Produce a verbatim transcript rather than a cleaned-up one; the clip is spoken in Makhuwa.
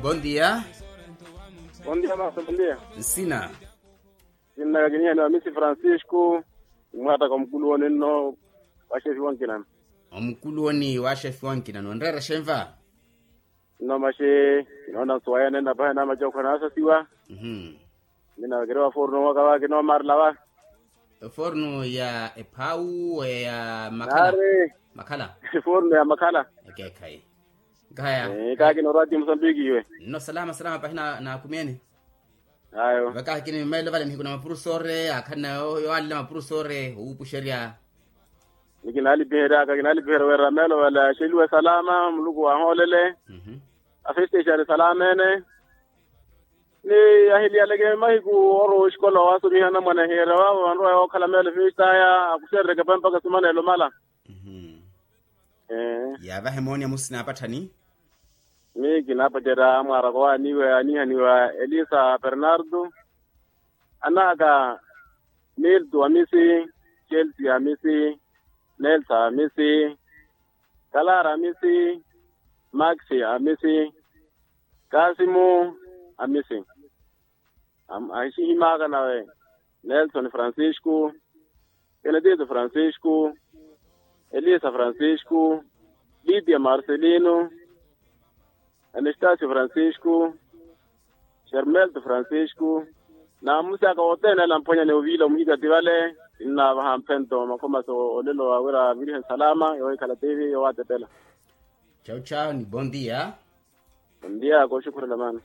Bondia. Bondia masa bondia. Nsina. Sinnaka kinihaniwa misi francisco. Imwattaka omukuluwoni nno. Wa xefi wankinano. Omukuluwoni wa xefi wankinano onreera xenva. Nno maxi. Kinoona nsuwayene nnapahe na macookho naasasiwa. Mina vakiri wa forno waka vaka kinoomarela vaka. Forno ya ephawu ya makhala. Makhala. Forno ya makhala. Ekeekhayi. Nkahaya. Kaakina orwati musambiki iwe. Nno salama salama pahi na nakumyeni. Ayo vakahi kini mmailo vale nihiku na mapurusore akhalina yowanlela mapurusore owuupuxerya. Ni kinaalipiheryaka kinaalipiherya wira meelo vale axeliwe salama muluku wahoolele. Afestexali salama ene. Ni ahiliyaleke mahiku oro oxikola waasumiha anamwane ahiyeerya waavo vanrowa yookhala meelo efestaya akuxerereke pa mpakha sumanelo mala. Yaavahe mooni amusina apatthani. Miyo kinaapacerya amwaaraka owaaniwe anihaniwa elisa bernardo. Anaaka milto amisi, chelsea amisi, nelsa amisi, kalara amisi, maxi amisi, kasimu amisi. Axihimaaka nawe nelson francisco, kenetito francisco, elisa francisco, lidia marcelino, anastasio francisco, xermelto francisco. Naamusi aka wothene ale amphwanya ni oviila omuhikati vale. Kinnaavaha mphento makhomasi olelo wa wira virihe nsalama yohikhala tivi yowaatepela. Chau chau ni bondia. Bondia kooxukhurela maana.